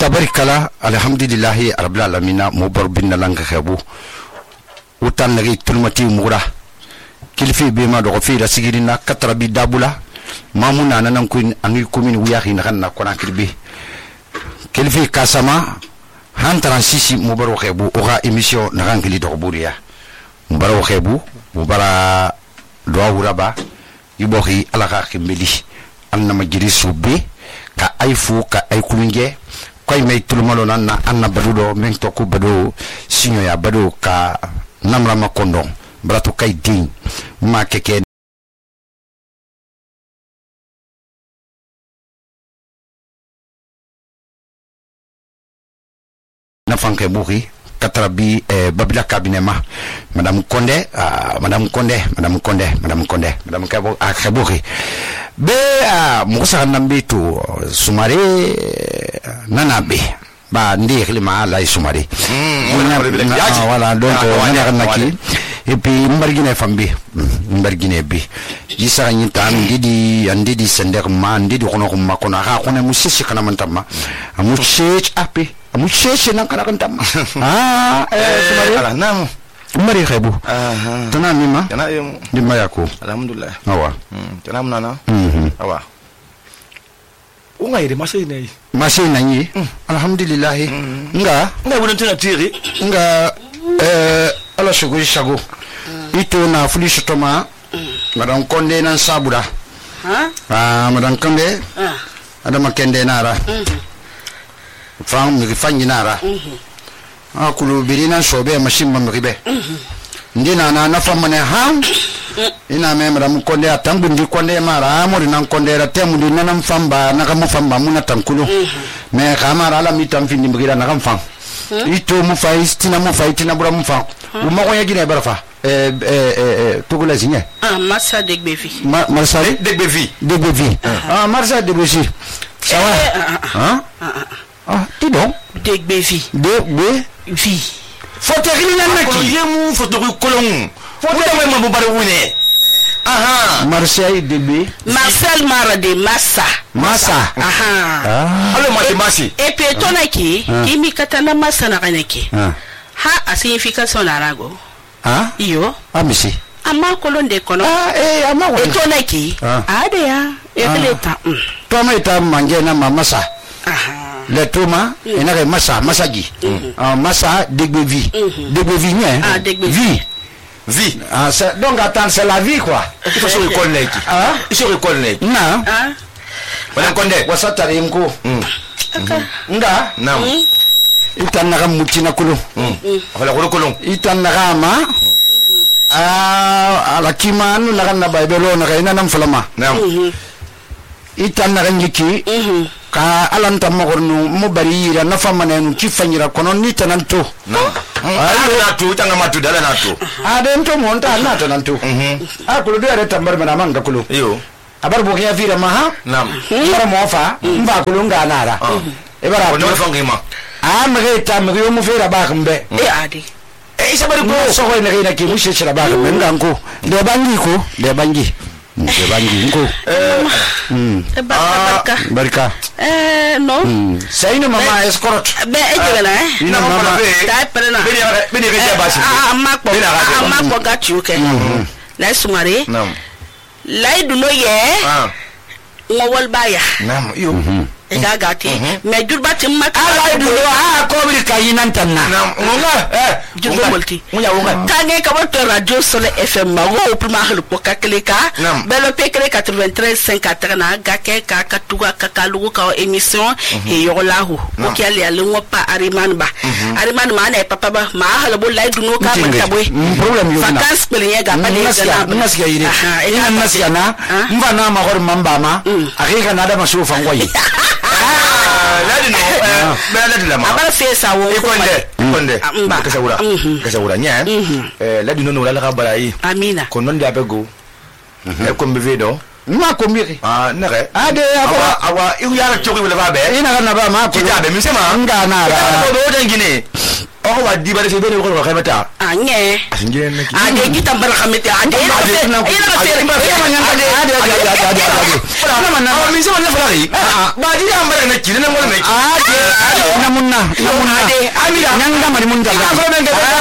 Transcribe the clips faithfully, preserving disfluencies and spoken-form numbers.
tabarikala alhamdulillahi rabbil alamin mo bar binna langa xebu utan nagi tulmati mugura kilfi be ma do fi ra sigirina katrabi dabula mamuna nanan ko angi commune wiyahi na kan na kona kirbi kilfi kasama han transisi mo bar xebu o ga emission na rangli do buriya mo bar xebu mo bara do wuraba ibohi ala ga khimbeli anna majiri subbe ka aifu ka ay kulunge koy may tulmalo nan na anna badudo men to ko bado sinyo ya bado ka namra makondo brato kay din ma keke na fanke buhi katrabi eh, babila kabinema madame Konde uh, madame Konde madame Konde madame Konde madame Kabo akhabuhi be uh, musa nambe to sumare nanabe ba ndi khilima la sumare mm, wala donc on naki et puis mbargine fambi mbargine bi yisa nyi tan ndidi andidi sender ma ndidi kono ko makona ha kono musisi kana mantama amu chech api amu chech nan kana kantama ah eh sumare ala nam mari khabu aha tana mima tana yum di mayako alhamdulillah awa tana munana mhm awa unga ire masai nei masai nani alhamdulillah nga nga wona tana tiri nga eh ala shugo shago ito na fulisho toma madam Konde nan sabura ha ah madam Konde ah ada makende nara fam mi fanyi nara ah kulu birina shobe machine mamribe ndina na na famane ha ina me madam Konde atangu ndi Konde mara amori nan Konde ra temu ndi nanam famba na kamu famba muna tankulu me kamara ala mitam findi mgira na kam fam ito mu faistina mu faitina bura mu fam u ma ko yagine barafa eh eh eh tugula signe ah Marsa Degbevi Marsa Degbevi Degbevi ah Marsa Degbevi ça va hein ah tu bon Degbevi Degbevi foto rina naki yemu foto kolon foto me mo bare wune aha Marseille Degbe Marcel Marade Massa Massa aha allo mati masi et puis tonaki kimi katana Massa na kaneki ha a signification arago ah iyo amisi ama kolonde kono ah eh ama wa etonaki ade ya ekleta to ma ita manje na Massa aha le toma ina ke Massa Massaji ah Massa Degbevi Degbevi nie ah Degbevi vie ah c'est donc attends c'est la vie quoi il faut se reconnaître ah il se reconnaître na ah wala Konde wasatari mko nga nam itanaka mutina kulo wala kulo kolon itanaka ma ah ala kimanu na kana baibelo na kaina nam falama nam itanaka nyiki ka alanta mogornu mo bari ira na famane nu kifanyira kono ni tananto nam ala tu tanga matu dala na tu adento monta na tananto ah kulo de are tambar mana manga kulo yo abar bo ya vira maha nam bara mo fa mba kulo nganara e bara ko no fangima ah mageta magyo mo fera ba kambe e ade e sabari ko so ko ne ina ki mushe shira ba kambe nganko de bangi ko de bangi de bangi ko mm barka barka eh no sai no mama escort be ejela eh ina mama ta perena beni beni ke basi ah makko ah makko gachu ke la sumare nam laidu no ye ah ngowol baya nam yo e ga gati me jurba tim makka laidu no ah ko bi kayinan tanna nam ngonga eh jurba multi munya wonga kange ka wato radio sole fm ma wo prima helu ko kakleka belo pekre quatre-vingt-treize cinq na gake ka katuga ka kalugo ka émission e yolahu o kiali ale ngopa ariman ba ariman ma na papa ba ma hala bo laidu no ka mata boy problem yo na vacances pelinye ga pa ne na nasiya yire ina nasiya na mva na ma hor mamba ma akika na da masu fangwayi ladi no be ladi la ma abara fesa wo Konde Konde kasa wura kasa wura nya eh ladi no no la ka barai amina ko non dia bego e ko mbe vedo ma ko miri ah nare ade awa awa iu ya choki wala ba be ina kana ba ma ko kita be mi sema nga na ra ko do den gine o wa di bare se be ne ko ka mata anye asinge ne ki ade kita barakamete ade ina ina ina na na mi se wala fara yi ba di am bare ne ki ne mo ne ade na munna na munna ade amira nyanga mari mun dalla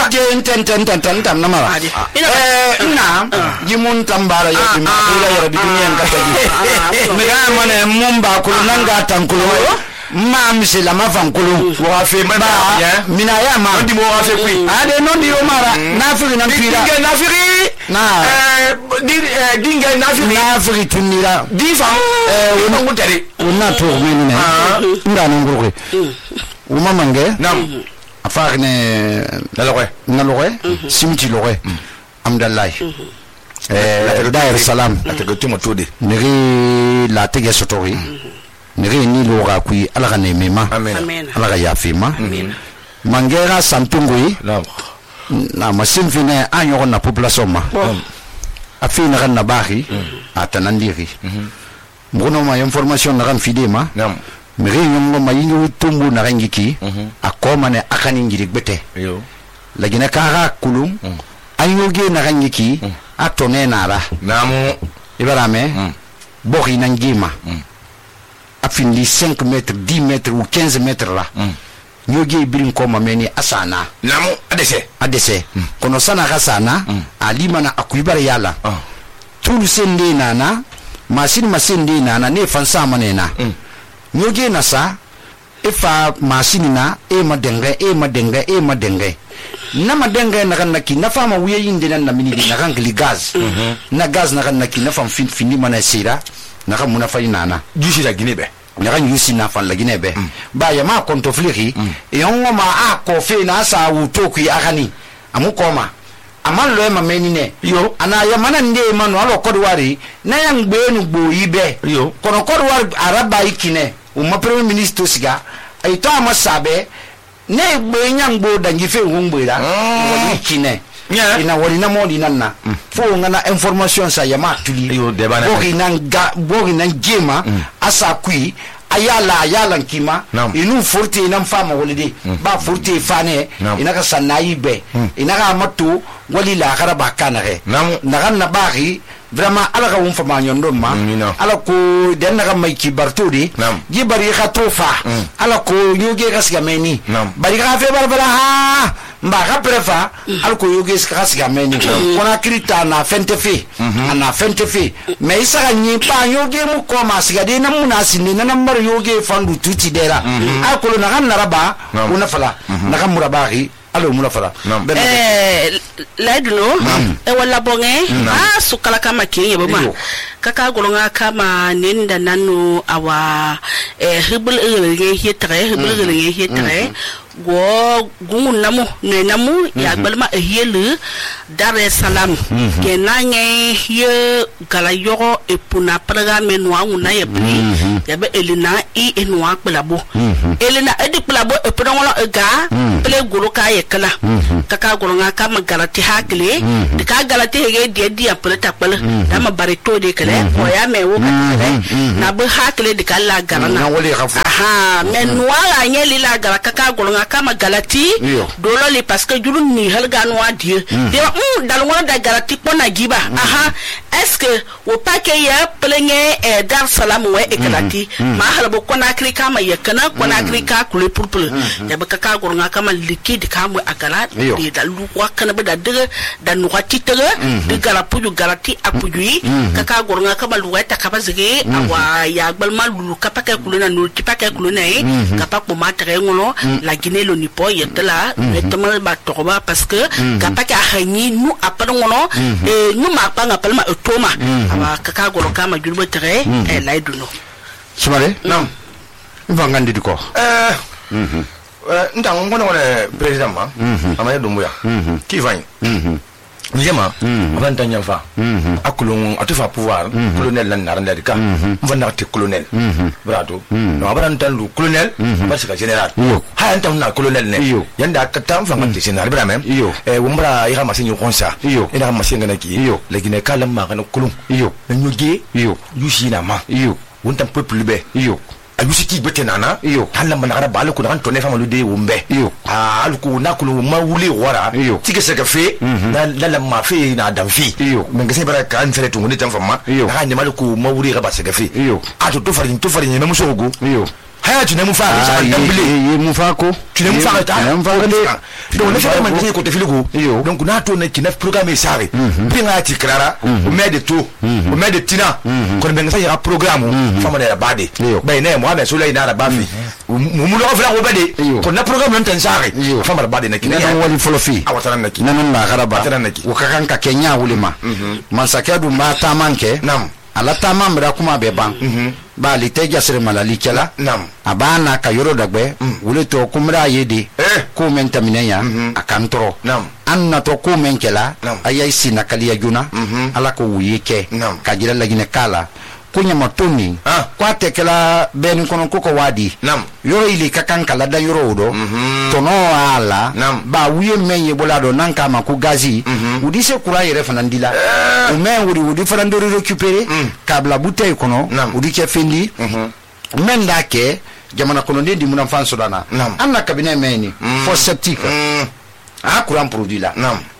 ade enten enten enten tam na mara eh ina ji mun tambara ya bi ila ya bi duniya kata ji mi ga mane mun ba kulu nanga tankulu ma misila ma fankulu wa fe ma mina ya ma ndi mo wa fe kui ade non di o mara nafiri nan pira dinga nafiri na eh dinga nafiri nafiri tunira di fa eh wona ngutare wona to meni ne nda non gurwe o mamange nam afar ne na loxe na loxe simti loxe amdallah eh dair salam la te gotimo tode niri la tege sotori niri ni lo ga kui ala ga ne mema amen ala ga ya fima mangera santungui nam na masim fine anyo na population ma afina kan na bahi atanandiri mbono ma information na kan fidema nam miri nyongo mayingi tumbu na rangiki akoma ne akani ngiri gbete yo lagina kara kulum ayoge na rangiki atone nara namu ibarame bokhi nangima afindi cinq mètres dix mètres ou quinze mètres là nyoge birin koma meni asana namu adese adese kono sana kasana alima na akuibara yala tulu sende nana masini masende nana ne fansa manena nyoge na sa ifa masini na e madenge e madenge e madenge na madenge na kan naki na fama wiye yinde na mini na kan gli gas na gas na kan naki na fam fin fini mana sira na kan muna fay nana jusi la ginebe na kan yusi na fan la ginebe ba ya ma konto fliki e ongo ma a ko fe na sa wu to ku akani amu koma aman lo ma menine yo ana ya mana nde manu alo kodwari na yang gbe nu gbo ibe yo kono kodwari araba ikine o ma premier ministre siga ay to ma sabe ne gbe nyang bo dangi fe ngumbuira wali ikine ina wali na modi nanna fo ngana information sa ya ma tuli yo de bana bogi nan ga bogi nan jema asa kui ayala ayala nkima inu furti nan fama walide ba furti fane ina ka sanayi be ina ka matu wali la garaba kanare na kan na bari vraiment ala ka won fama nyondo ma ala ko den na mai ki bartudi ji bari ka tofa ala ko yoge ka siga meni bari ka fe bar bara ha mba ka prefa ala ko yoge ka siga meni kona krita na fente fe ana fente fe me isa ka nyi pa yoge mu ko ma siga de na muna sinne na nambar yoge fandu tuti dera ala ko na kan naraba una fala na kan murabari alo mula fala eh laidlo e wala bonge ah sukala kama kiye bama kaka golonga kama nenda nanu awa eh hibul nge hitre hibul nge hitre go gungun namu ne namu ya balma ehelu Dar es Salaam ke nange ye gala yoro e puna programme noa una ye pri ya be elina i enwa kplabo elina edi kplabo e prongola e ga ple golo ka ye kala kaka golonga kama galati hakle de ka galati hege de dia ple takpala dama barito de kale o ya me wo kale na be hakle de kala garana aha men noa la nyeli la gara kaka golonga kama galati dolo li parce que juru ni halga noa die de mm dalwa da galati pona giba aha est-ce que o paquet ya plegne e Dar Salam we e galati ma halbo kona krika ma yakana kona krika kule purpul ya baka ka gornga kama liquide kamu agala de dalu wa kana bada de da nuwa titere de galapu ju galati apujui kaka gornga kama luweta kaba zige awa ya gbalma lulu kapaka kuluna nul tipaka kuluna e kapako matre ngolo la Guinée lo nipo yetela netama ba toba parce que kapaka hanyi nu aparngono e nu ma panga palma toma awa kaka goro kama julbo tere e laiduno Sumare nam vangandi diko eh eh ndang ngono ngone president ma amaya dumbuya ki vany njema vanta nyamfa akulung atufa pouvoir colonel lan naranda dika mvana te colonel brato no abaran tan lu colonel parce que général ha anta na colonel ne yanda katam fa ngati général bra même eh wumbra ira masinyo konsa ina masinga na ki legine kalam ma kana kulung yo nyoge yo yushina ma yo wontam peuple be yo ayusi ki bete nana iyo hala manara bale ko nan tonne fama lude wumbe iyo ah alku na ko ma wuli wara tike se ka fe na la ma fe na dan fi iyo men gese bara kan fere to ngoni tan fama na ni maluku ma wuli ga ba se ka fe iyo ato to farin to farin ne muso go iyo haya tu ne mu fa ah ye mu fa ko tu ne mu fa ta ne mu fa de donc ne fa man ko te filigo iyo donc na to ne kina programme sare pinga ti clara o me de to o me de tina ko ben sa ya programme fama de bade be ne mo abe so le ina ba fi mu mu lo fa ko bade ko na programme non tan sare fama de bade ne kina ne wali folo fi awatara na ki nan na garaba o ka kan ka kenya wulima man sakadu ma ta manke nam ala ta mamra kuma be ban ba li te jasre malali kala nam abana ka yoro dagbe wule to kumra yede ko men taminaya akantro anna to ko men kala ayai sina kaliya juna ala ko wuyeke ka jira lagine kala kunya matoni kwa tekela ben kono koko wadi yoro ili kakan kala da yoro odo tono ala ba wiye menye bolado nanka ma ku gazi udise kura yere fanandila o men wudi wudi farandori récupérer kabla bouteille kono udi ke fendi men dake jamana kono ndi muna fanso dana anna cabinet meni for septique a courant produit la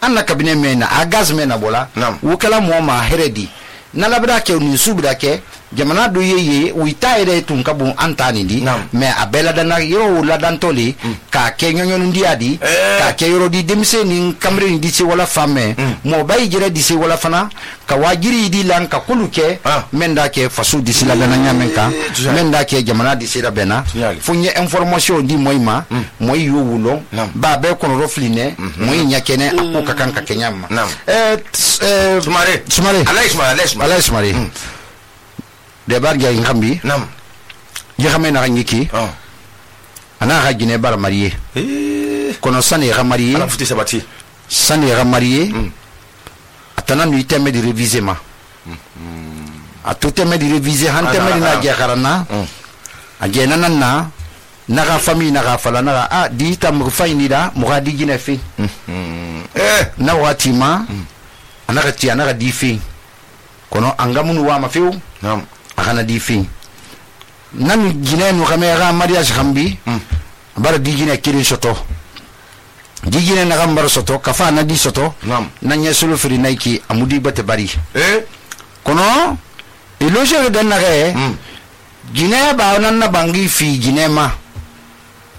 anna cabinet meni a gaz mena bola wukala mo ma heredi na labda ke ni subda ke jamana do yeye wita ere tun kabun antani di me abela dana yo la dantoli ka ke nyonyo ndi adi ka ke yoro di demse ni kamre ni disi wala femme mo bay jere disi wala fana ka wajiri di lan ka kuluke menda ke fasu disi la dana nyamen ka menda ke jamana disi la bena funye information di moyma moy yo wulo ba be kono rofline moy nyakene akuka kanka kenyama eh sumare sumare alay sumare alay sumare de bar ga ngambi nam ya xamé na ngiki oh ana ga gine bar marié eh kono sane ga marié ana futi sabati sane ga marié atana nu iteme di réviser ma a tout teme di réviser han teme na ga garana a gena nanna na ga famille na ga fala na a di tam fayni da mo ga di gine fi eh na wati ma ana ga ti ana ga di fi kono angamunu wa ma fiu nam akana di fin nan gine no kamera mariage khambi bar di gine kiri soto di gine na gambar soto kafa na di soto nan yesulu firi naiki amudi bate bari eh kono iloje den na re gine ba nan na bangi fi gine ma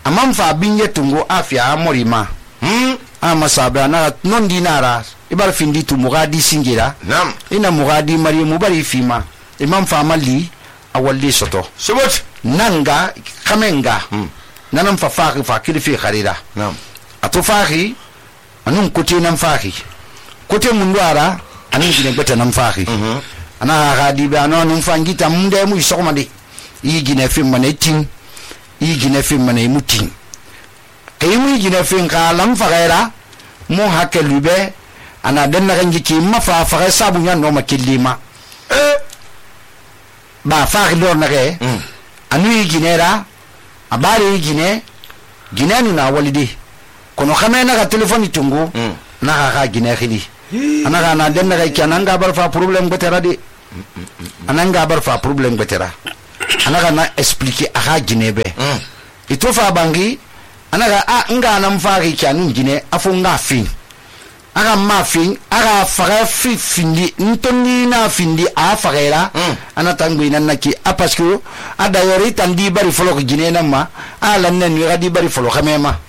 amam fa binye tungo afia amorima hm ama sabra na non dinara ibar findi tu mugadi singira nam ina mugadi mari mubari fima imam famali awali soto sobot nanga kamenga mm. nanam fa faaki fa kilifi kharida nam ato faaki anun kote nam faaki kote mundwara anun gine beta nam faaki mm -hmm. ana gadi ba no nun fangita munde mu sokmande yi gine fim mane tin yi gine fim mane mutin kay mu gine fim ka lam fagaira mo hakelube ana denna ganji ki ma fa fa sabu nya no makillima eh ba fa lor na ke anu ginera abari gine gine nu na walidi kono khame na ka telefoni tungu na ka ka gine khili ana ka na denna ga kyanan ga bar fa problem betera di anan ga bar fa problem betera ana ka na expliquer aha gine be ito fa bangi ana ga a nga na mfa ga kyanu gine afu nga fin aga ma fin aga faga fi findi ntoni na findi a fagera ana tangbi nan naki a parce que ada yori tandi bari folo gine na ma ala nen ni gadi bari folo khamema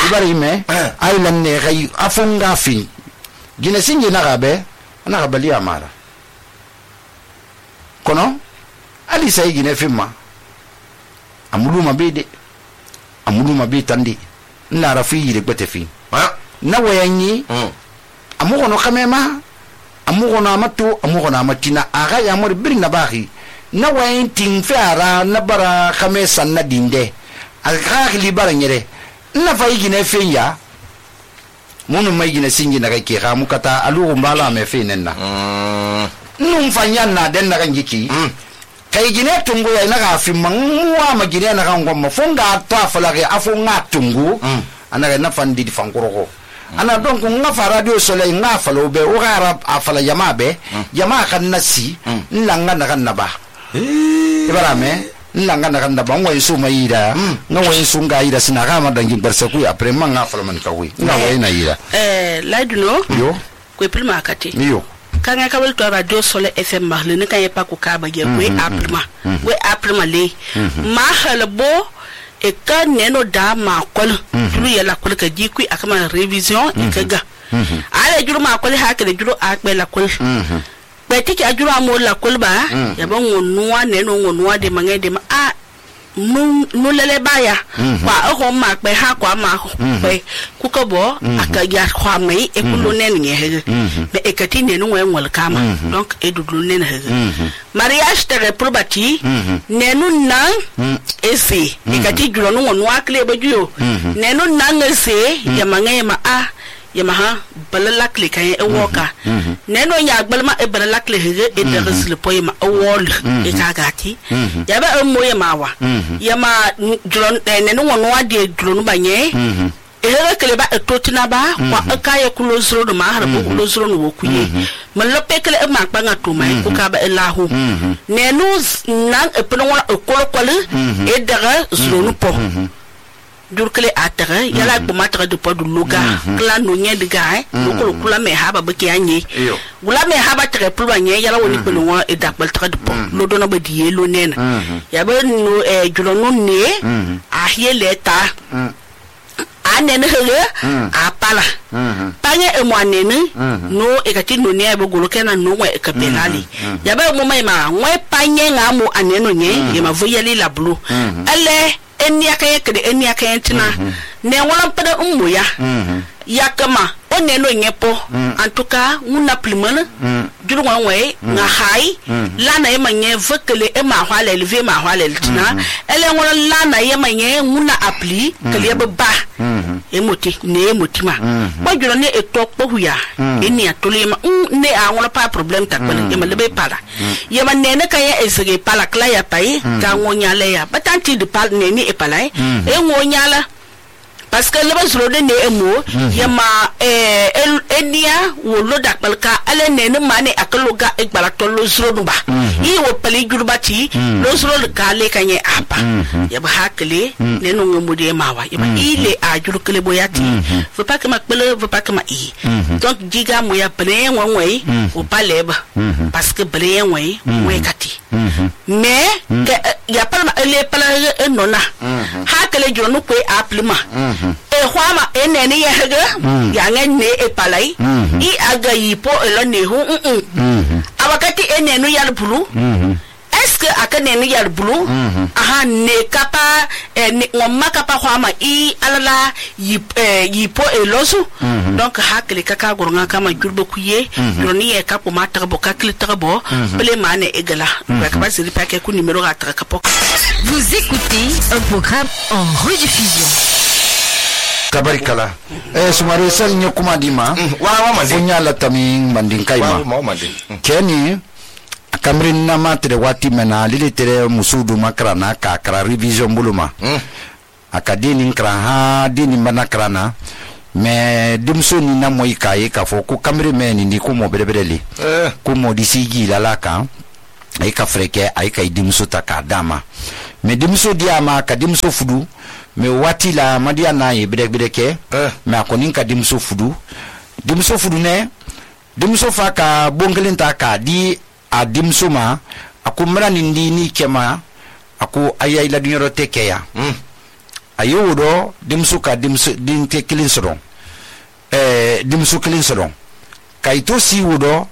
bari me ay lan ne gay afunga fin gine singi na gabe ana gabali amara kono ali say gine fimma amulu mabede amulu mabede tandi na rafi yire bete fin na wayanyi amugo no kamema amugo na matu amugo na matina aga ya mori bir na bahi na wayin tin fiara na bara kamesa na dinde aga li bara nyere na fayi gine fenya munu mai gine singi na kai ka mukata alu mbala me fenenna num fanya na den na kanjiki kai gine tungu ya na ga fi manwa ma gine na kan gomma fonga ta falage afunga tungu ana na fandi di fangoro ana donc nga fa radio soleil nga fa lo be o gara afala yama be yama kan nasi nlanga na kan naba e bara me nanga na kan da ban wa su mai da nga wa su nga ida sina ga ma dangin barsa ku après man nga fala man ka wi nga wa na ida eh laiduno yo ko prima kati yo kanga kabel to radio sole fm marle ne kan yepa ko ka ba ye we aprima we aprima le ma halbo e ka neno da ma kol tulu yela kol ka jikui akama revision e kaga ala juru ma kol ha ka juru akbe la kol beti ki ajuru amo la kol ba ya ba ngonuwa neno ngonuwa de mange de ma a nu nu lele baya kwa ho ma pe ha kwa ma pe ku ko bo aka ya kwa mai e ku lo nen nge he be e kati ne nu wen wal kama donc e du lo nen he mariage tere probati ne nu nan e se e kati julo nu wonu akle ba juyo ne nu nan e se ya mange ma a ya maha balalak le kan e woka neno nya gbalma e balalak le hege e de resle poy ma wol e kagati ya ba e moye mawa ya ma dron neno wono ade dron banye e hege kele ba e totina ba kwa ka ye kulo zro do ma har ko kulo zro no wokuye man lo pekele e ma kpanga to mai ko ka ba e lahu neno nan e peno wona e kolo kolo e daga zro no po durkele atare yala ko matra de podu luga kla no nye de gae ko kula me haba be kianye gula me haba tre pulwa nye yala woni ko no e dakbal tra de po lo do no be die lo nena ya be no e julo no ne a hiele ta anene hele a pala panye e mo anene no e ka ti no ne be golo kena no we ka penali ya be mo mai ma we panye nga mo aneno nye e ma voyeli la blu ale eni akaye kede eni akaye tina ne wala pada ummu ya yakama onne no nyepo en tout cas una plimana juru wan way nga hay lana e manye vekele e ma hwale elve ma hwale tina ele wala lana e manye una appli kele be ba emoti ne emoti ma ba juru ne e tok po huya eni atole ma ne a wala pa problem takbale e ma lebe pala ye ma ne ne kaye ezege pala kla ya pai ka ngonya le ya batanti de pal ne ni e pala e ngonya la parce que le basro de ne emo yama eh enia wo lo dakbalka ale ne ne mane akaloga e gbarato lo zro ba yi wo pali gurbati lo zro ka le kanye apa yaba hakle ne no ngomudi mawa yaba ile a jurukle boyati faut pas que ma pele faut pas que ma i donc diga mo ya pele wonwe o paleba parce que pele wonwe we kati mais ya palma ele pala enona hakle jonu ko aplima e khwama enene ye hege ya ngene e palai I aga yipo elo ne hu abakati enenu yal bulu est-ce que akanenu yal bulu aha ne kapa ne ngomma kapa khwama I alala yip yipo elosu donc hakle kaka gornga kama jurbo kuye droni e kapo mata bo kakle trabo ple mane egala ka ba siri pa ke ku numéro ga tra kapo. Vous écoutez un programme en rediffusion. Kabarikala eh sumare sel nyokuma dima wa wa mande funya la taming manding kaima wa mande keni kamrin na matre wati mena lilitere musudu makrana ka kra revision buluma akadini kra ha dini manakrana me dimso ni na moy kaye ka fo ku kamri meni ni ku mo berebeli ku mo disigi la la ka ay ka freke ay ka dimso ta ka dama me dimso diama ka dimso fudu me wati la madia na ye bidek bideke me akonin ka dimso fudu dimso fudu ne dimso fa ka bongelin ta ka di a dimso ma akumra nindi ni kema aku ayai la dunyoro tekeya ayo do dimso ka dimso din te kilin soron eh dimso kilin soron kaito si wudo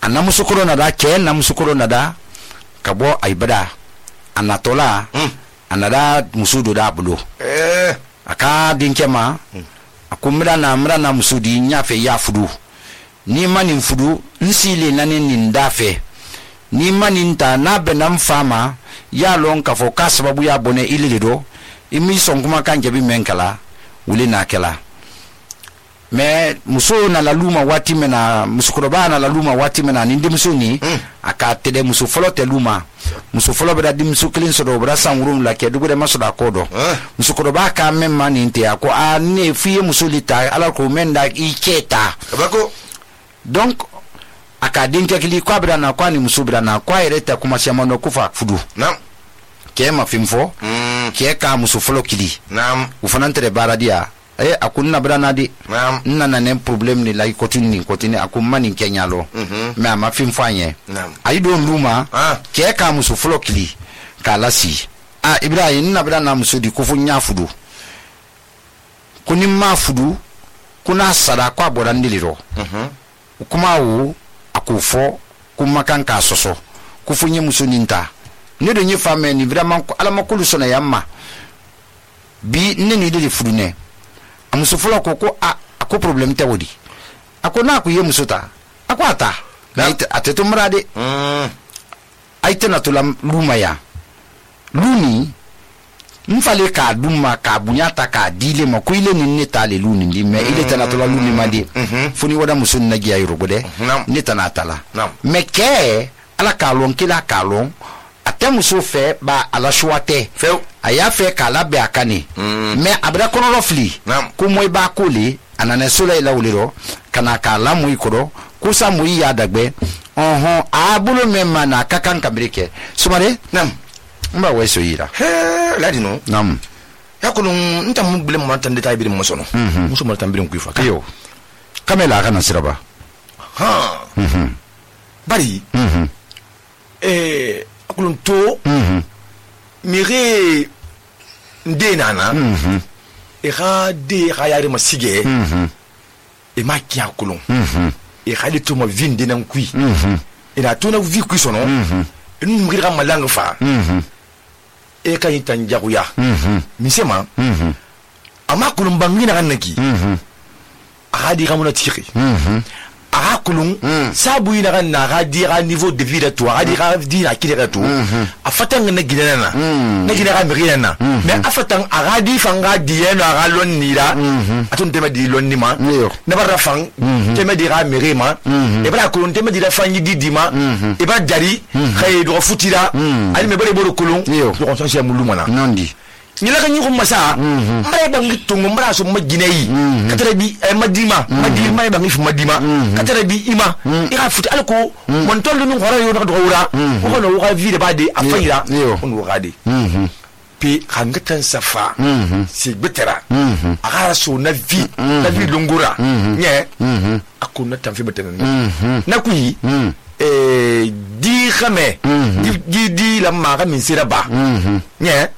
anamuso korona da ke namuso korona da kabo aibada anatola anada musudu da bulo eh aka dinkema akumra na mra na musudi nyafe ya fudu ni manin fudu nsile nanin nindafe ni manin ta na benam fama ya lon ka fo kasababu ya bone ililido imi son kuma kan jabi menkala wuli na kala me muso na la luma wati mena musukroba na la luma wati mena nindi musuni mm. aka tede muso folo te luma muso folo beda dim muso klin so do bra sangurum la ke dugude masoda kodo eh. musukroba ka memma ninte ako a ne fiye muso lita ala ko menda iketa bako donc aka dinke kili kwa bra na kwa ni muso bra na kwa ireta kuma siamono kufa fudu na ke ma fimfo ke ka muso folo kili naam u fana tere baradia eh akunna brana di naam nana ne problem ni lai kotuni kotuni akumma ni kenyalo me ama fimfo anye naam ayi don luma ah ke ka muso folo kili ka lasi ah ibrahim na brana muso di kufu nya fudu kuni ma fudu kuna sada kwa borandiliro mhm kuma wo akufo kuma kan ka soso kufu nye muso ninta ne do nye femme ni vraiment ala makulu sona yamma bi ne ni de fudu ne amuso folo ko ko a ko problem te wodi ako na ku ye muso ta ako ata na ateto mrade mm aite na to la luma ya luni mfale ka duma ka bunyata ka dile ma ko ile ni neta le luni ndi me ile tana to la luni ma di funi wada muso na giya yoro de neta na tala me ke ala ka lon kila ka lon ate muso fe ba ala shwate fe aya fe kala be akani me abra kono rofli ko moy ba ko le anane sola ila uliro kana kala moy koro ko sa moy ya dagbe oho abulo memma na kakan kabrike sumare nam mba weso yira he ladi no nam yakulun nta mu bile mo tan deta birim mo sono muso mo tan birim ku fa yo kamela kana siraba ha mhm bari mhm eh akulun to mhm mire nde nana mhm e ga de ga yare masige mhm e ma ki akulun mhm e ga le to mo vinde nan kui mhm e na to na vi kui sono mhm nu mire ga malanga fa mhm e ka yitan jaguya mhm misema mhm ama kulun bangina kan naki mhm a di gamuna tiri mhm a kulun sabu ina kan na ga di ga niveau de vie de toi a di ga di na kire to a fatan na gidana na na gidana mi gidana mais a fatan a ga di fanga di eno a ga lon nira atun tema di lon nima na bara fang tema di ga mi ma e bara kulun tema di da fangi di di ma e ba jari khay do futira ali me bare boro kulun do ko so muluma na nondi nila kan yuko masa mai bangi tungu mara so maginai katara bi madima madi mai bangi fu madima katara bi ima ira futi alko mon tollu no hora yo do wura ko no wa vide ba de afira on wa de pi hangatan safa si betera aga so na vi na vi lungura nye akuna tamfi betera na kuyi eh di khame di di la maga min sira ba nye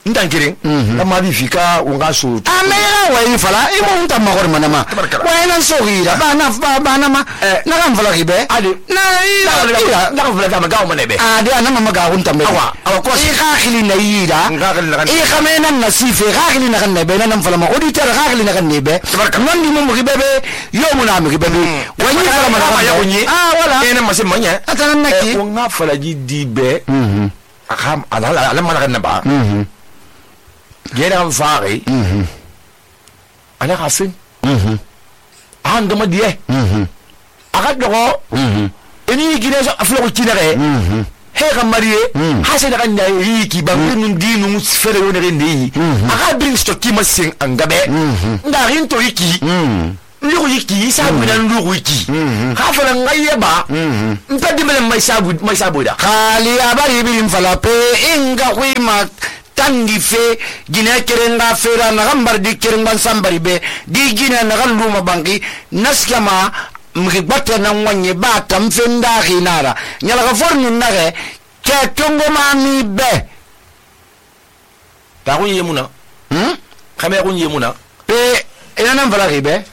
ndankirin amma bi fika wonga so amera wayi fala imo unta magor manama wayna so gira bana bana ma na kan fala gibe ade na ila na kan fala ma gawo manebe ade anama maga unta me awa awa ko i khili na yida i khamena nasife khili na kan nebe na fala ma auditeur khili na kan nebe non di mo gibebe yo muna mo gibebe wani fala ma ya kunyi ah wala ene ma se manya atana naki wonga fala ji dibe mhm akam ala ala ma kan ba mhm gera fare mhm ana kafin mhm an gama die mhm aga dogo mhm eni gine so aflo ko kinare mhm he ga mariye ha se daga ndai ki bangun dinu fere wona rendi aga bring stock ki masin angabe nda rin to yiki mhm ndugu yiki sabu na ndugu yiki ha fala ngaye ba mpadi mele mai sabu mai sabu da khali abari bilim fala pe inga khima tangi fe gine kerenga fera na gambar di kerenga sambari be di gine na galuma bangi naskama mgibata na mwanye bata mfenda ginara nyala ga forni nage ke tongo mami be ta ko yemuna hm khame ko yemuna pe ina nan fala gibe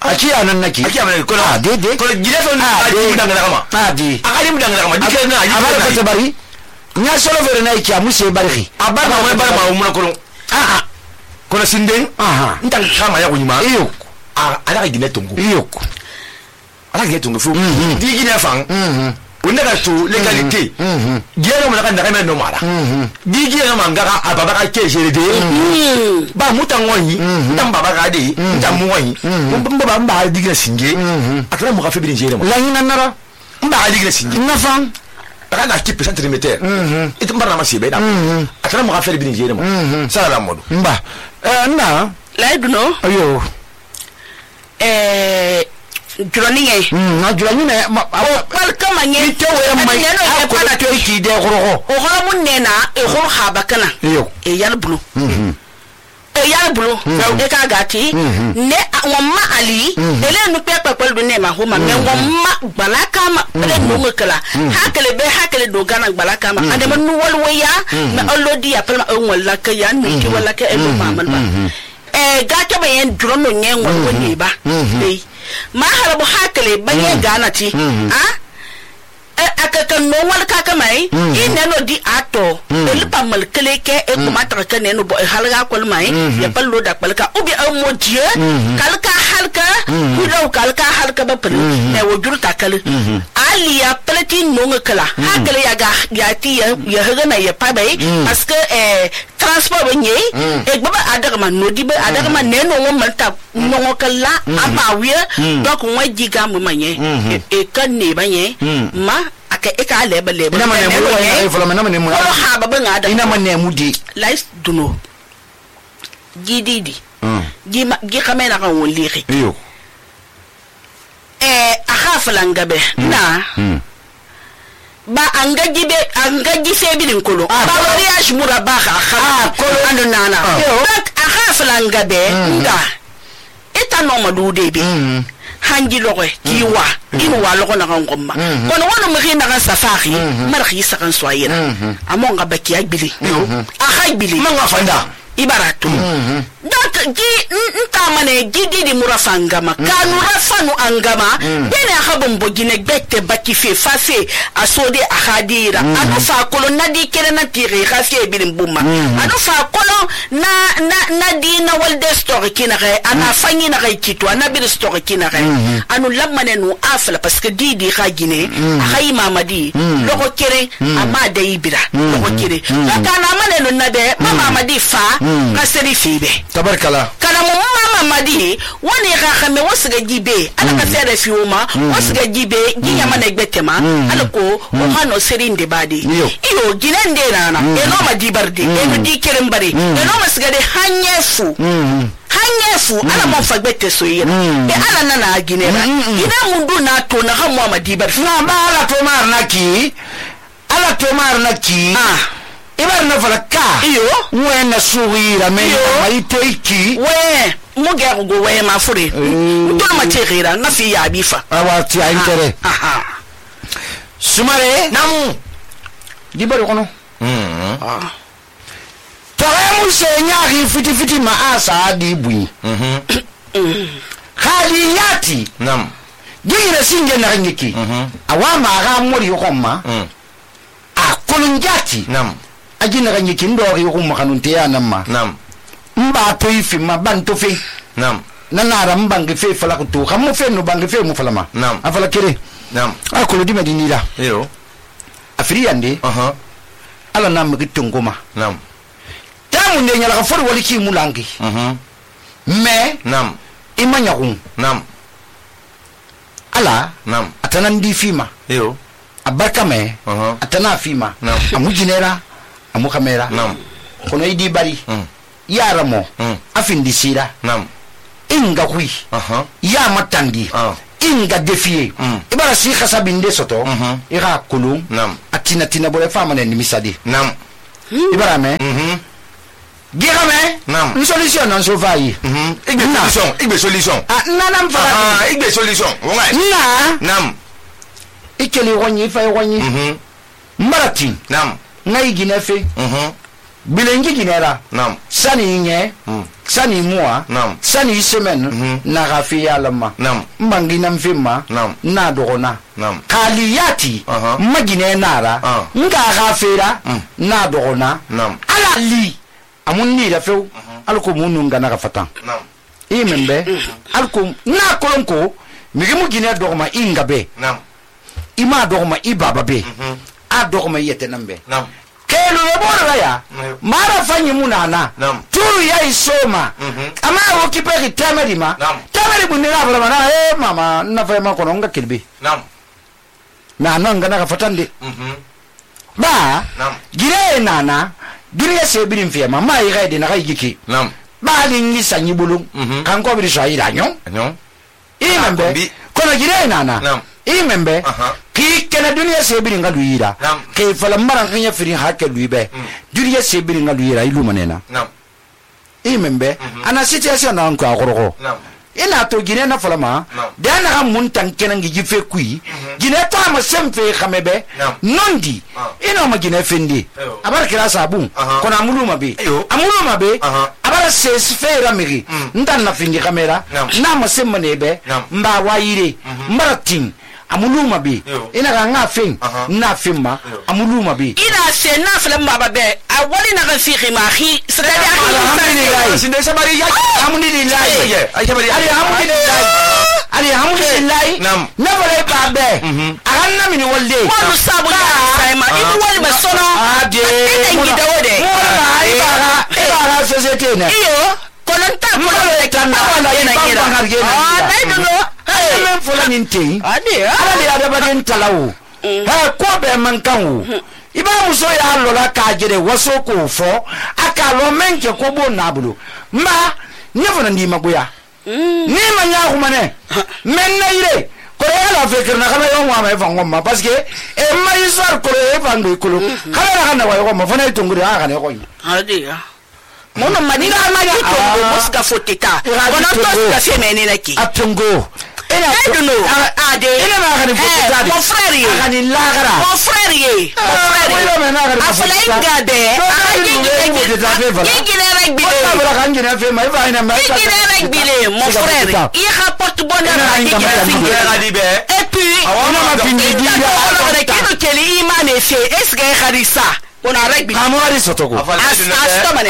aki anan naki aki anan ko ah de de ko gine so na adi mudanga kama adi akali mudanga kama dike na ayi abara ko bari nya solo vere na iki amuse bari abara ma bara ma umuna ko ah ah ko sinden aha ntan kama ya kunyima iyo ah ala gine tongo iyo ala gine tongo fu di gine fang mhm wanda ka to legalité mhm gine mo na kan na no mara mhm di gine ma ngaka ababa ka ke jere de ba mutango yi ntan baba ka de ntan mu yi mbamba ba mba di gine singe akara mo ka fe bi jere mo la hina nara mba di gine singe na fang aka na ki centimeter mhm itu mbarna ma sibe da akara mo ka fe bi jere mo sala la modu mba eh na la duno ayo eh jurani ye na jurani ne ma pal kama nye te we mai a ko to ki de goro o horo mun ne na e horo haba kana e yar bulu e yar bulu e ka gati ne wamma ali ele nu pepe pal du ne ma ho ma me wamma balaka ma ele nu ngakala hakale be hakale do gana balaka ma ade man nu walwaya na allodi ya palma on walla ka ya nu ti walla ka e do mamal ba e gata ba yen drono nyen wal ne ba e ma harabu hakale ba ye gana ti ha akaka no wal kaka mai ina no di ato el pa mal keleke e kuma ta ka ne no bo halga kol mai ya pallo da palka ubi au modie kalka halka kudo kalka halka ba pul e wojur ta kal ali ya plati no ngakala hakale ya ga ya ti ya ya haga na ya pa bai parce que eh transport ba nye e baba adaga man no di ba adaga man ne no wo man ta no ngakala aba wiye donc wa jiga mu manye e kan ne ba nye ma aka eka leba leba ina mane mu wa e folo mana mane mu ko ha baba ngada ina mane mu di lais duno gididi mm gi ma gi kamena kan won lixi yo eh aha falangabe na ba anga gibe anga gise bilin kolo ba wariya mura ba ha kolo ando nana donc aha falangabe nga eta no madude be hangi logo kiwa inu wa logo na ngomma kono wono mari na safari marhi sakan soyena amonga baki agbili aha agbili manga fanda ibaratu donc gi ntamane gidi di murafangama kanu rafanu angama bene akhabon bogine bette baki fe fase asode akhadira anu fa kolo nadi kere na tire khasi bilim bumma anu fa kolo na na nadi na walde story kinare ana fanyi na kai kitwa na bir story kinare anu lamane nu afla parce que didi khagine khay mamadi logo kere amade ibira logo kere kana mane no nade mama madi fa kaseri fibe tabarkala kana mu mama madi woni ga khame wosga jibe ala ka sere fiuma wosga jibe ginya mana gbetema ala ko o hano serinde badi iyo ginende nana e no ma dibardi e no dikere mbari e no masga de hanyefu hanyefu ala mo fagbete so yira e ala nana aginera ina mundu na to na ha mo ma dibardi na ba ala to mar naki ala to mar naki ah ibar na falaka iyo we na suwira me mai toiki we mo ga go we ma fure to ma tegira na fi ya bifa awa ti aintere aha sumare namu di bari kono mm ah tawemu se nyaari fiti fiti ma asa di bui mhm khaliyati nam gira singe na ngiki awa ma ga mori hokoma a kolunjati nam ajina ganyi kindori ko makanunte ya namma nam mba to ifi ma banto fe nam nanara mbangi fe fala ko to xam mo fe no bangi fe mo fala ma nam afala kire nam akolo di medinila yo afri yande aha ala nam gi tongoma nam tamu ne nyala ka for wali ki mulangi mhm me nam imanya kun nam ala nam atana ndi fima yo abarka me aha atana fima nam amu jinera amu kamera nam kono idi bari mm yara mo mm afindi sira nam inga hui aha ya matandi ah inga defie mm. ibara si khasabinde soto mhm ira kulum nam atina tina bole fama ne misadi nam ibara me mhm gira me nam une solution non so vai mhm igbe solution igbe solution ah nanam fara ah igbe solution wonga na nam ikeli wonyi fa wonyi mhm marati nam ngai ginefe mhm bilengi ginera nam sani nye mm. sani mua nam sani semaine Mhm. na rafi alama nam mbangi na mfima nam na dogona nam kaliyati Aha. magine nara Ah. nga gafera Mm. na dogona nam ala li amunni da few alko munu ngana ga fatan nam imembe alko na kolonko migimu gine dogma ingabe nam ima dogma ibaba be mhm a dogma yete nambe nam kelo yebora ya Mm. mara fanyi munana Nam. turu ya isoma Mhm. ama wo kipeki temeri ma Nam. temeri bunira fala mana eh mama na fa ma kono nga kilbi nam na nanga na fatande mhm ba nam gire nana gire se birin fiya mama yi gaide na kai giki nam ba li ngi sanyi bulu Mhm. kan ko bi so ayira nyon anyo imembe kombi. ko kono gire nana i membe ki kena duniya sebiri nga luira ke fala maran kanya firin hakke luibe duniya sebiri nga luira ilu manena i membe ana situation na ko agorgo ina to gine na fala ma da na mun tan kenan gi fe kui gine ta ma semfe khamebe nondi ina ma gine fendi abar kira sabu kona amuluma be amuluma be abara ses fe ramiri ndan na fendi kamera na ma semmane be mba wayire maratin amuluma be ina ga nga fen na femma amuluma be ina se na fala mbaba be awali na fi khimahi sirali alhamdulillah sinde sabari ya alhamdulillah alhamdulillah alhamdulillah na bare ba be aganna mini walde wanu sabu sai ma ibu wali basono ade ina ngidawode ai bara bara societe ne iyo kolonta kolonta tanna wala ina ngira ah dai duno men fola ninte ade ala le ada baden talawo ha ko be man kanwo iba muso ya lola ka jere waso ko fo aka lo menke ko bo nabulo ma nyefo na ndi magoya ni ma nya ko mane men na ire ko ya la fekir na kala yo ma fa ngomma parce que e ma isar ko e fa ndo ko kala na kana wa yo ma fa na tunguri ha kana ko ade ya mono manina ma ji to muska foteta kono to ka fe menene ki atungo ina duno ade ina ma kana foteta mon frère ye kana lagara mon frère ye mon frère ye afala ingade igile regbile wala kan gina fe mai fa ina mai igile regbile mon frère il rapporte bonheur à igile be et puis ina ma findi diga ala kino keli imane fe esga kharisa on a règle amori sotoko astomane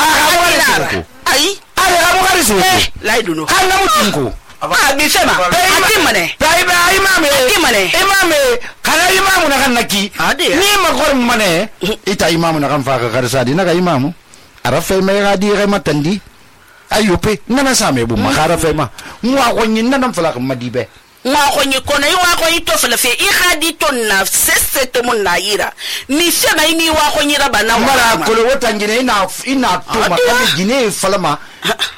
ai ale amori sotoko laiduno kana mutinko ah bisema atimane dai ba imame atimane imame kana imamu na kanaki ni ma gor mane ita imamu na kan fa ka karsa di na ka imamu arafe me ga di re matandi ayupe nana same bu makara fe ma mwa ko nyin nan fala ka madibe mwa ko nyi kono yi wa ko yi to fala fe i khadi to na sese to mun na yira ni se na ni wa ko nyi raba na mara ko lo tangine ina ina to ma ka gine falama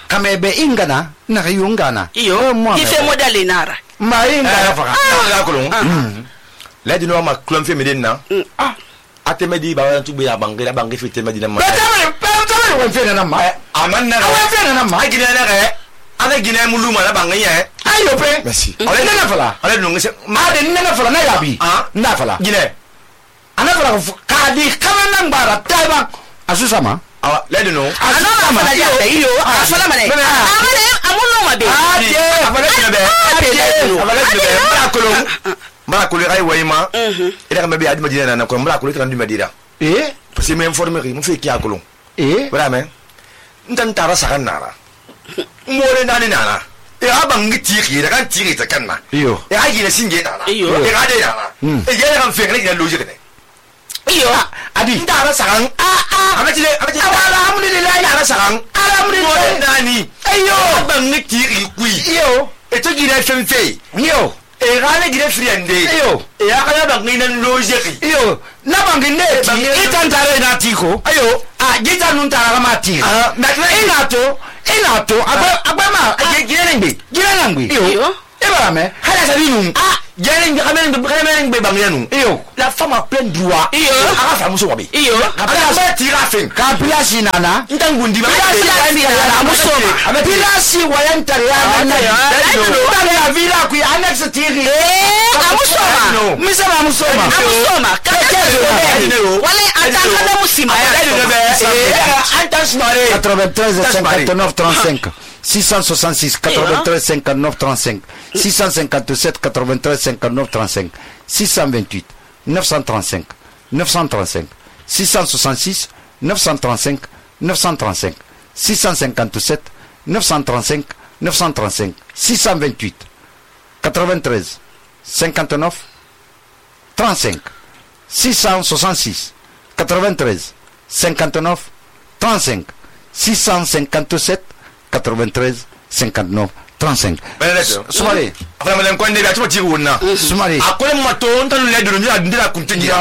kamebe ingana na yungana iyo ki fe modali nara ma inga fa la ko la di no ma klom fe medina ah atemedi ba tu be ya bangira bangi fe temedi na ma ba ta ba ta wa fe na ma amanna wa fe na ma gine na ga ana gine muluma na bangi ya ayo pe merci ale na fala ale no ngese ma de na fala na yabi na fala gine ana fala ka di kama nan bara taiba asusa ma awa le no ana ma fala ya iyo afala mane amane amuno ma be ade afala gine be ade afala gine be mara kolo mara kolo ay wayma ida ka be adi madina na ko mara kolo kan di madina eh parce que me informer mo fe ki akolo eh vraiment ntan tara sakan nara more nani nana e abang tiri da kan tiri ta kanna iyo e haji na singe nana iyo e gade nana e yele kan fe ne logique ne iyo adi tara sakan a a abati abati alhamdulillah tara sakan alhamdulillah nani ayo abang tiri kui iyo e to gire femfe iyo e gane gire friende iyo e akaya bang ni nan logique iyo na bangi ne ti itantare na tiko ayo a gita nun tara ma ti ah ina to ina to agba agba ma gire ngbe gire ngbe iyo e bara me hala sa binu ah gire ngbe kamen ngbe kamen ngbe bang yanu iyo la femme a plein droit iyo aka fa muso wabi iyo aka ba tira fen ka pilasi nana ntangundi ba pilasi nana musoma pilasi wayantare ya nana ya vila ku annex tiri eh amusoma misema musoma amusoma wala ataka musima ya quatre-vingt-treize cinquante-neuf trente-cinq six cent soixante-six quatre-vingt-treize cinquante-neuf trente-cinq six cent cinquante-sept quatre-vingt-treize cinquante-neuf trente-cinq six cent vingt-huit neuf cent trente-cinq neuf cent trente-cinq six cent soixante-six neuf cent trente-cinq neuf cent trente-cinq six cent cinquante-sept neuf cent trente-cinq neuf cent trente-cinq six cent vingt-huit quatre-vingt-treize cinquante-neuf trente-cinq six cent soixante-six quatre-vingt-treize cinquante-neuf trente-cinq six cent cinquante-sept quatre-vingt-treize cinquante-neuf trente-cinq Soumare afala malen ko ndebe atuma tiri wonna Soumare akole mato ntanu le dulu ndira ndira kuntingi ya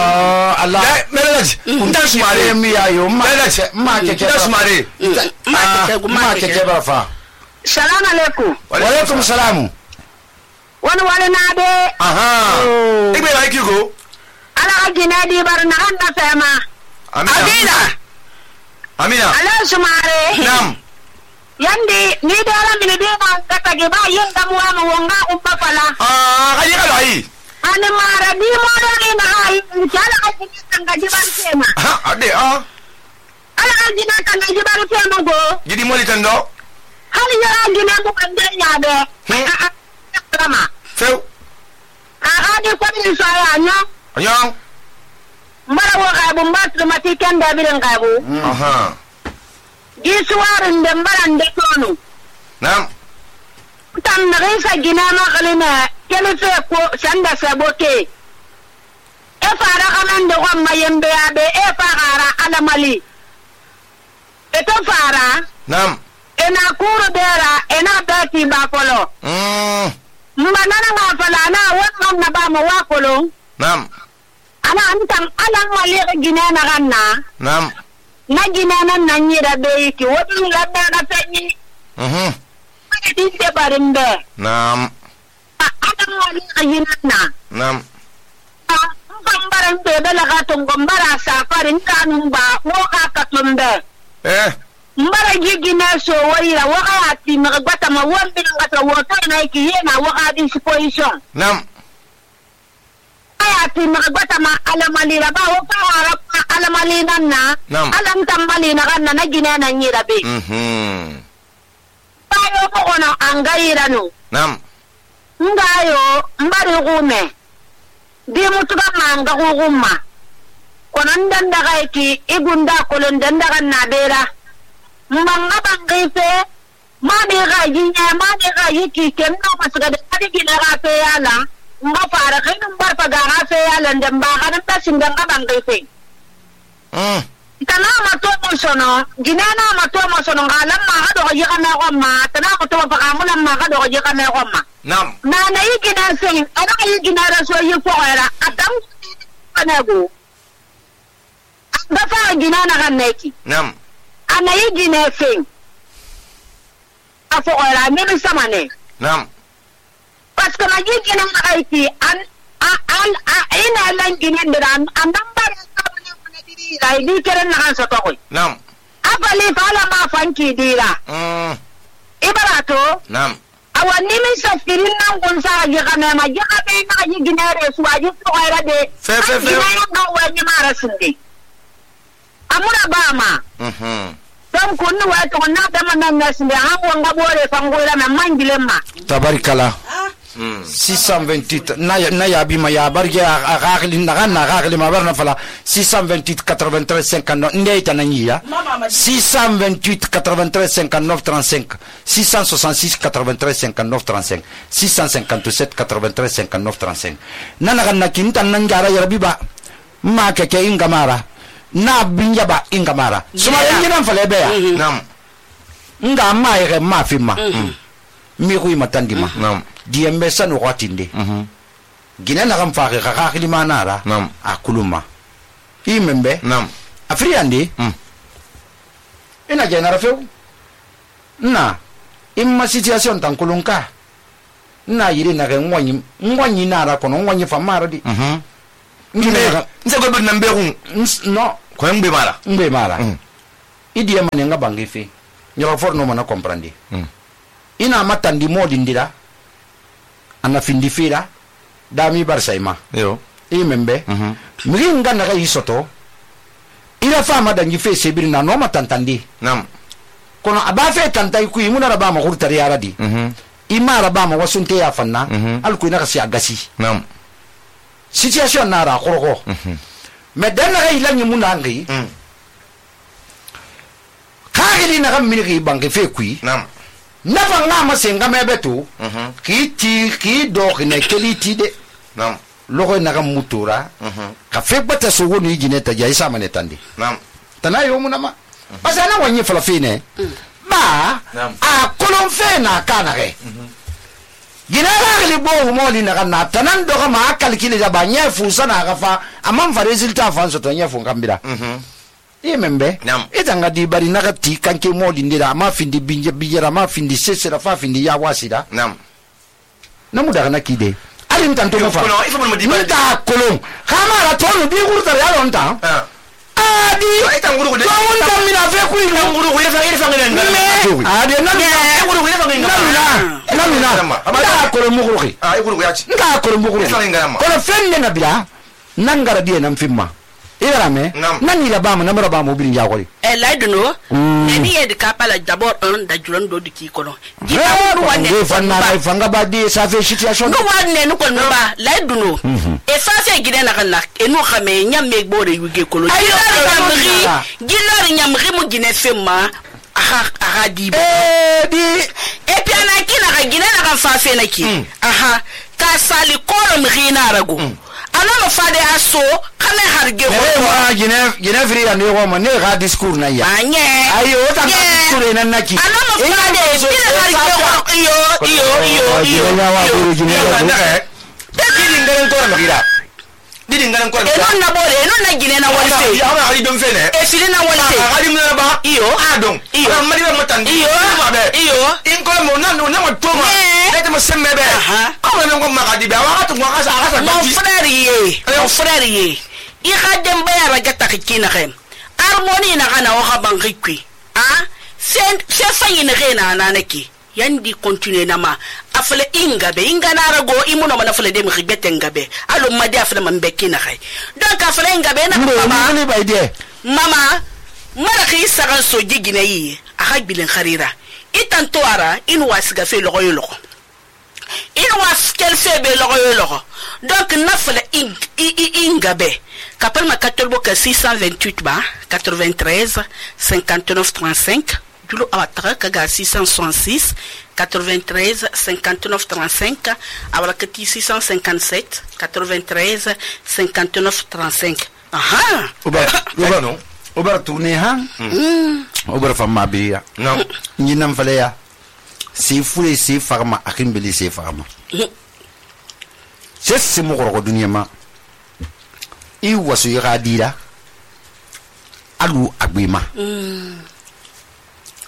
Allah melaj ntan Soumare mi ayo ma ma ke ke Soumare ma ke ke ba fa Salam alaikum. wa alaikum salam wani wani na de aha igbe ba kigo ala ka gine di bar na kan na fema amina amina ala sumare nam yandi ni dara mini di na kata ge ba yin da muwa mu wonga umba fala ah kaji ka lai ani mara di mo do ni na ai kala ka gine tanga di bar fema ha ade ah ala ka gine tanga di bar fema go gidi moli tando hali ya gine mu kan de nya be kama feu a di ko ni so ya nya anya mara wo ga bu mbas ma ti kan da birin ga bu aha giswarin da mbaran da tonu nam tan na risa gina ma kalina kele fe ko sanda saboke e fara kaman da gon mayembe ya be e fara alamali e to fara nam ena kuru dera ena beti ba kolo mm mbana na fala na wannan na ba mu wa kolo nam ana antam alan wali gina na ganna nam na gina nan nan yi da bai ki wani labda na sanyi mhm wani din da barin be nam a adam wani ayin na nam a kan baran be bela ka tun gombara safarin kanun ba wo ka ka tumbe eh mbara gigina so wai ra waka ati ma gbata ma won bin ngata wo to na ki yena waka din position nam ati ma gbata ma alamali ra ba wo fa ara alamali nan na alam tambali na kan na gina nan yi rabe mhm bayo ko ona angaira no nam ngayo mbari gume di mutuga manga gugumma kono ndanda gaiki igunda kolon ndanda kan na bera mbanga bangife ma de gaji nya ma de gaji ki kenno masga de kadi gina ga fe yala nga fara kinu mbar pa ga fe yala ndamba kan ta singa bangife mm tana ma to mo sono gina na ma to mo sono ngalam ma ga do ji kana ko ma tana ko to pa kamulan ma ga do ji kana ko ma nam na na yi gina sai ana yi gina da so yi ko era adam kana go da fa gina na kan neki nam ana yi gina sai afo era min sama ne nam parce que ma yi gina na aiki an an ina lan gina da an dan ba rai di keren na kan so to ko nam afali fala ma fanki dira mm ibarato nam awani min safirin nan gun sa ji kana ma ji ka be na ji ginare su aji to era de fe fe fe ga wani mara sunde amura ba ma mhm don kunnu wa to na da man nan sunde an wanga bore fangora na mangile ma tabarikala mm six cent vingt-huit na na ya bi ma ya barge a gagli na na gagli ma barna fala six cent vingt-huit quatre-vingt-treize cinquante-neuf ndey tananya six cent vingt-huit quatre-vingt-treize cinquante-neuf trente-cinq six cent soixante-six quatre-vingt-treize cinquante-neuf trente-cinq six cent cinquante-sept quatre-vingt-treize cinquante-neuf trente-cinq nana kan na kintan nan jara yarbi ba ma keke ingamara na binja ba ingamara suma yengina fale be ya nam nga ma yere ma fi ma mi ko matandi ma nam diembe sanu watinde mhm gina na kam faaki ka ka khilima nara nam akuluma imembe nam afriandi mm ina genera feu na imma situation tan kulunka na yiri na ken wanyi wanyi nara kono wanyi famara di mhm ngine nse go bin nambe hu no ko ngbe mala ngbe mara mm idi yema ne ngabangi fi nyoro for no mana comprendre mm ina matandi modi ndira ana findi fira dami barsaima yo imembe mhm mringa na kai soto ila fama dangi fe sebiri na no matantandi nam kono abafe tantai ku imuna raba ma hurtari yaradi mhm ima raba ma wasunte ya fanna Mhm. alku ina kasi agasi nam situation na ra khoroko mhm me dan ga ilanyi munangi mm khagili na kam miliki bangi fe kui nam nafa nga ma senga mebetu mhm ki ti ki do ne keliti de nam logo na kam mutura mhm ka fe bata so woni jine ta jai sama ne tandi nam tana yo munama basa na wanyi fala fine ba Naam. a kolon fe na kana ge gina la li bo mo li na kana tanan do ma kalkile da ba nya fu sana ga fa amman fa resultat fa so to nya fu ngambira mhm e membe Naam. itanga di bari na ga ti kanke mo li ndira ma findi binje bijera ma findi sesera fa findi ya wasida nam namu daga na kide alin tanto mo fa il faut me dire ta kolon kama la tonu di gurta ya lon ta ah di eta nguru de ko won ta mina fe ku ni nguru ko ile fa ile fa ngene ah de na nguru ko ile fa ngene na mina ta kolon mu guru ah nguru ko yachi ta kolon mu guru ko fenne na bila nangara die nan fimma ira me nan ni la ba mo na ba mo bi ya ko e la duno ne ni e de kapala d'abord un da juran do di ki kono di ba ru wane fanna fanga ba di ça fait situation no wane no ko no ba la duno e fa se gide na kana e no xame nyam me gbore yuge kolo gilari nyam ri mu gine femma aha aha di e di e pi ana kina ga gine na kan fa fe na ki aha ka sali kolo mi na rago ana ma fade aso kana harge ko wa gine gine fri ya ne ko ma ne ga discours na ya anye ayo ta discours na naki ana ma fade bila harge ko yo yo yo yo ya wa buru gine de didi ngaren ko na gira didi ngaren ko e non na bore e non na gine na wali fe ya ma ali dum fe ne e fili na wali fe ali mu na ba iyo a don iyo ma di ma tan iyo iyo in ko mo na no na mo to ma e te mo semme be ko mo ngo ma ka di ba wa to ngwa ka sa ka sa mon frère ye mon frère ye i ga dem ba ya raga ta kina khem harmonie na kana o ga ban rikwi ah sen se fayin rena na naki yandi continue na ma afle inga be inga na rago imuno mana afle dem ribete ngabe alo madi afle man bekina khay donc afle inga be na mama ni ba ide mama mara ki saga so jigina yi aha bilen kharira itanto ara in wasiga fe logo yo logo in was kel fe be logo yo logo donc nafle ing inga be kapal ma katolbo ka six cent vingt-huit ba quatre-vingt-treize cinquante-neuf trente-cinq Julo Awatara Kaga six cent soixante-six quatre-vingt-treize cinquante-neuf trente-cinq Awakati six cent cinquante-sept quatre-vingt-treize cinquante-neuf trente-cinq. Aha. Oba oba non. Oba tourner ha. Oba fama biya. Non. Ni nam fale ya. Si fule si farma akin beli si farma. C'est ce mo ko dunya ma. I wasu yira dira. Alu agbima.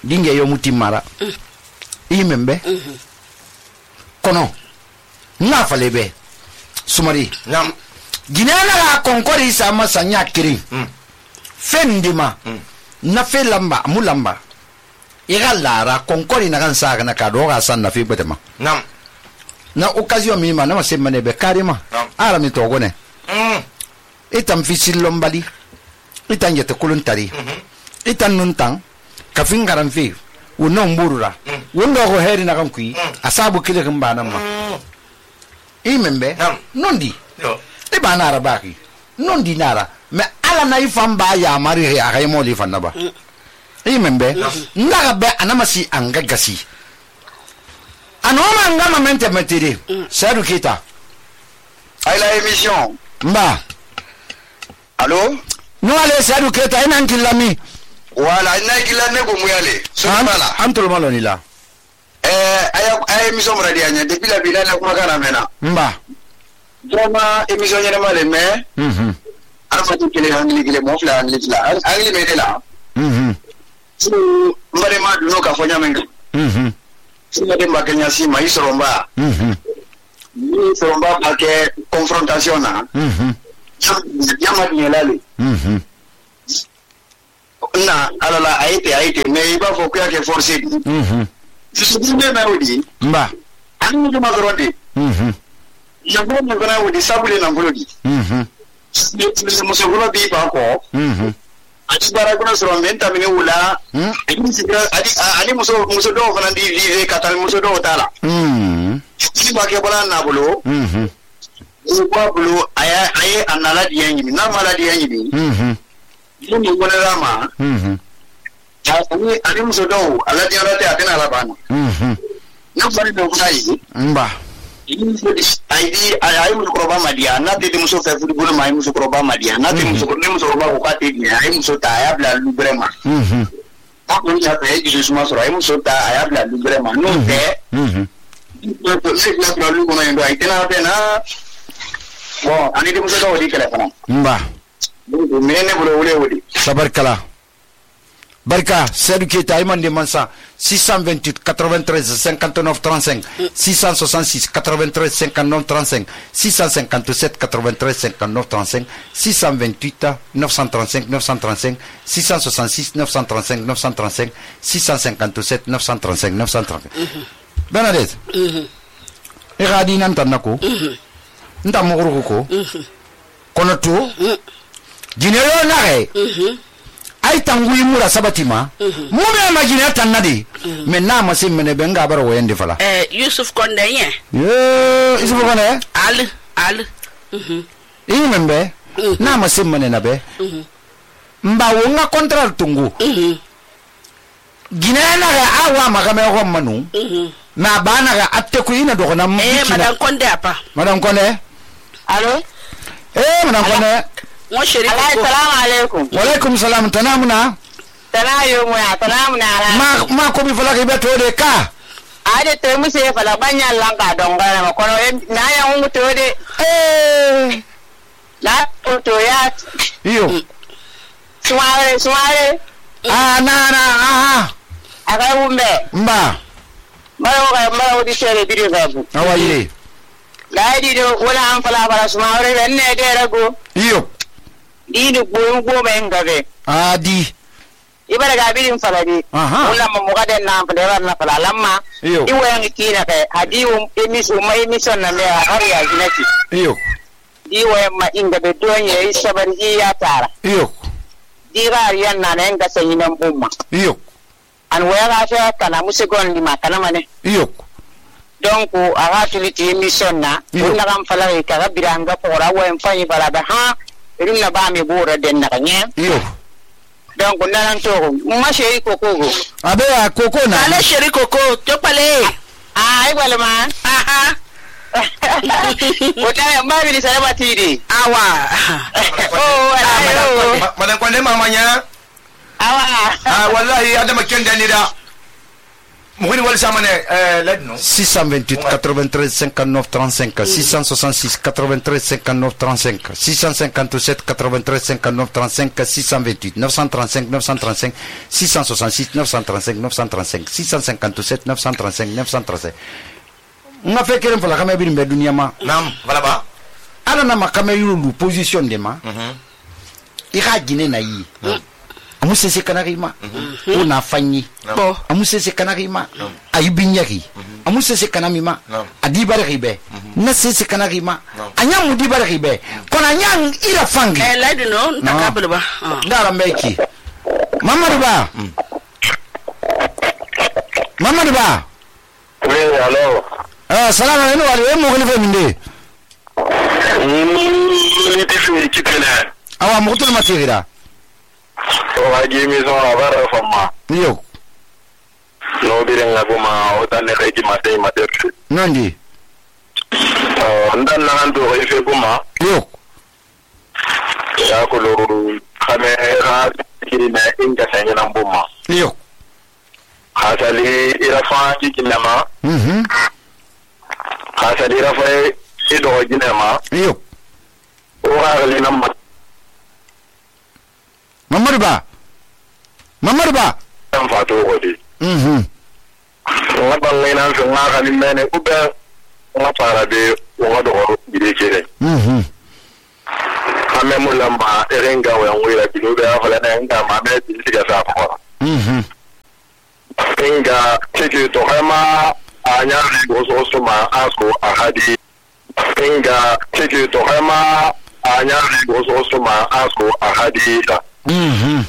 Dinge yo mutimara mm. Imembe mm -hmm. Kono na falebe sumari nam ginana la konkori sama sanya kiri mm. Fendima mm. Na fe lamba mulamba ira lara konkori na kan saga na kado ga san na fi betema nam na occasion mi ma na ma semane be karima ara mi to gone mm. Itam fisil lombali itan yete kuluntari mm -hmm. Itan nuntang kafin garan fi wannan burura wanda ko heri na kan ku asabu kile kan ba nan ma imembe nondi yo e ba na arabaki nondi nara me ala na ifan ba ya mari ya kai mo li fan na ba imembe ndaga be anamasi angagasi anoma ngama mente metiri sadu kita ay la émission mba allo no ale sadu kita ina nkilami wala ina kila ne ko muyale so bala antol maloni la eh aya aya émission radio nya depuis la bila na kuma kana mena mba vraiment émission nya male mais mhm arfatu kile angli kile mo fla angli la angli me de la mhm so mbare ma duno ka fonya menga mhm so de mbakanya si mai soromba mhm ni soromba pa ke confrontation na mhm yama ni lale mhm na alala aite aite mais il va faut que forcer mhm je suis bien mais oui mba ani de mazorodi mhm ya bo mo gona wodi sabule na ngolodi mhm ni mo so gona bi ba ko mhm ati bara gona so menta mine wula ani sigra adi ani mo so mo so do fana di vive katal mo so do tala mhm ni ba ke bola na bolo mhm ni ba bolo aya aya anala di yanyi na mala di yanyi mhm ni mo gona rama mhm ani ani mo so do ala di ala te atena la bana mhm na bari do kunai mba aidi ayi muso koroba madia na te muso fe fudi bolo mai muso koroba madia na te muso ne muso koroba ko kate ni ayi muso ta ya bla lu brema mhm ta ko ya fe ji suma so ayi muso ta ya bla lu brema no te mhm to se la bla lu ko na ndo ayi tena pe na bon ani de muso do di kala fana mba me ne bolo wole wole sabarkala Barka Seydou Keita Imande Mansa six cent vingt-huit quatre-vingt-treize cinquante-neuf trente-cinq six cent soixante-six quatre-vingt-treize cinquante-neuf trente-cinq six cent cinquante-sept quatre-vingt-treize cinquante-neuf trente-cinq six cent vingt-huit neuf cent trente-cinq neuf cent trente-cinq six cent soixante-six neuf cent trente-cinq neuf cent trente-cinq six cent cinquante-sept neuf cent trente-cinq neuf cent trente-cinq Bernadette e gadi nan tan nako nta mogoro ko kono to jinero na re ay tangui mura sabatima mu me imagine tan nadi mais na ma sim mene be nga baro wende fala eh Yusuf Konde yen yo Yusuf Konde al al mhm ini membe na ma sim mene na be mba wonga contrat tungu mhm ginena ga awa magame ho manu mhm na bana ga atte ko ina do na eh madame Konde apa madame Konde allo eh madame Konde mo sheri ko assalamu alaikum wa alaikum salam tanamuna tanayo mu ya tanamuna ma ma ko mi fala ke beto de ka ade te mu se fala banya langa dongara ma kono na ya ngu to de eh la to ya iyo suare suare ah na na aha aga umbe mba maro ga maro di sere bidi gabu awaye la di do wala an fala fala suare ne de rago iyo ini goyon goma yin gabe adi ibara ga birin faladi wala mu muga den na fada na fala lamma iwo yan kina kai hadiwu emisu mai emission na me har ya ginati iyo iwo ma inga be donye isabar ya tara iyo dirar yan na nan ga sanyi nan umma iyo an waya ga fa kana musigon lima kana mane iyo donc aga tuliti emission na wala kan fala ka ga biranga pora wo en fanyi fala ba ha irin na ba me bora den na kanye iyo donc nan to ma sheri koko go abe a koko na ale sheri koko to pale ah ai wala ma aha wota ma bi sa ba tiri awa oh wala madam Konde mamanya awa ah wallahi adama kenda ni da mugini wal samane euh ledno six cent vingt-huit quatre-vingt-treize cinquante-neuf trente-cinq six cent soixante-six quatre-vingt-treize cinquante-neuf trente-cinq six cent cinquante-sept quatre-vingt-treize cinquante-neuf trente-cinq six cent vingt-huit neuf cent trente-cinq neuf cent trente-cinq six cent soixante-six neuf cent trente-cinq neuf cent trente-cinq six cent cinquante-sept neuf cent trente-cinq neuf cent trente-cinq nga fe keren fala kame birin be dunia ma nam wala ba ala na makame yulu position de ma mhm i ga gine na yi amu sese kanarima una fanyi bo amu sese kanarima ayibinyaki amu sese kanamima adibare ribe na sese kanarima anya mudibare ribe kona anya ira fangi eh lady no ntakabulu ba ndara mbeki mamadu ba mamadu ba oui allo ah salamu alaikum wali e mo gele fe minde ni tifi kitene awa mo to matira o agi mi so abara fama yo no bire ngabuma o tan ne kay ma tay ma ter nandi o ndan nan do ko ife guma yo ya ko lo khame ra kiri na inga sanya nan buma yo khasali ira fa ki kinama mhm khasali ra fa ido jinema yo o ga le nam mamadu ba mamadu ba tan fa to ko di mhm nga bangay nan so nga kali mene ube nga para de nga do ko bide kire mhm ame mulamba erenga wa ngwira bilube afala na nga ma me bilisiga sa ko mhm inga tiki to hama anya go so so ma asko ahadi inga tiki to hama anya go so so ma asko ahadi mhm